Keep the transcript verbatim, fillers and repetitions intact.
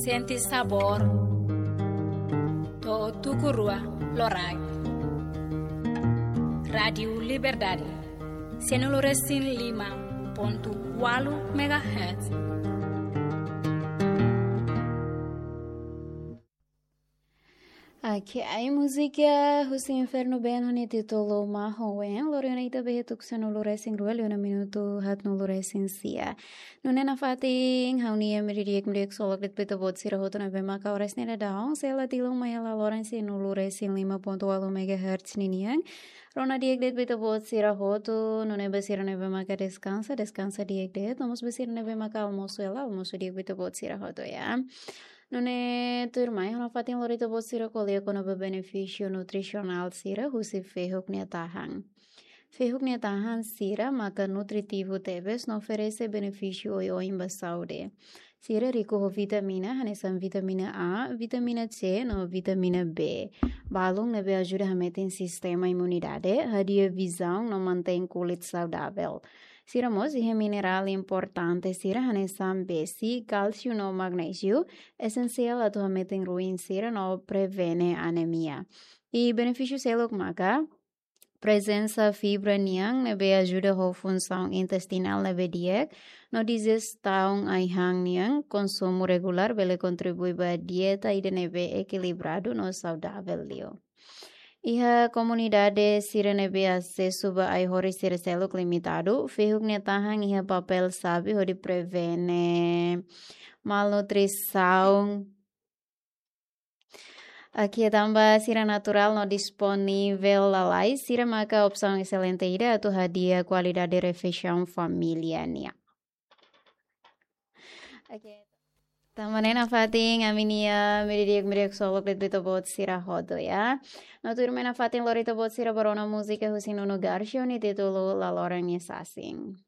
Sente sabór. To'o tuku rua loraik. Rádiu Liberdade. Sianulu resin lima pontu ualu megahertz. Oke, ai múzika husi Inferno Band ho nia títulu Mahon Wen, lori ona ita ba iha tuku sanulu resin rua liu ona minutu haatnulu resin sia. Nune'e nafatin, ha'u-nia media di'ak, media di'ak solok de'it ba ita-boot sira hotu ne'ebé maka oras ne'e daudaun, sei la tilun mai hela loron sianulu resin lima pontu ualu megahertz ninian. Rona di'ak de'it ba ita-boot sira hotu, nune'e ba sira ne'ebé maka deskansa, deskansa di'ak de'it, no mós ba sira ne'ebé maka almosu hela, almosu di'ak ba ita-boot sira hotu, ya. Nune'e tuirmai, ha'u nafatin lori ita-boot sira ko'alia kona-ba benefísiu nutrisionál sira husi fehuk nia tahan. Fehuk nia tahan sira maka nutritivu tebes no oferese benefísiu oioin ba saúde. Sira riku ho vitamina, hanesan vitamina A, vitamina C, no vitamina B. Balun ne'ebé ajuda hametin sistema imunidade, hadi'a vizaun no mantein kulit saudavel. Sira mós iha minerál importante sira hanesan besi, kálsiu no magnéziu, esensiál atu hametin ruin sira no prevene anemia. I benefísiu seluk maka prezensa fibra nian ne'ebé ajuda ho funsaun intestinál ne'ebé di'ak, no dijestaun ai-han nian, konsumu regulár bele kontribui ba dieta ida ne'ebé ekilibradu no saudavel liu. Iha komunidade sira ne'ebé asesu ba ai-horis sira seluk limitadu, fehuk nia tahan iha papél xave hodi prevene malnutrisaun. Oke, tanba sira naturál no disponivel lalais, sira maka opsaun eselente ida atu hadi'a kualidade refeisaun família nian. Oke. Tanba ne'e nafatin, ami-nia media di'ak, media di'ak solok de'it ba ita-boot sira hotu, ya. No tuirmai nafatin lori ita-boot sira ba rona múzika husi Nuno Garcia, nia títulu La Loran Nia Sasin.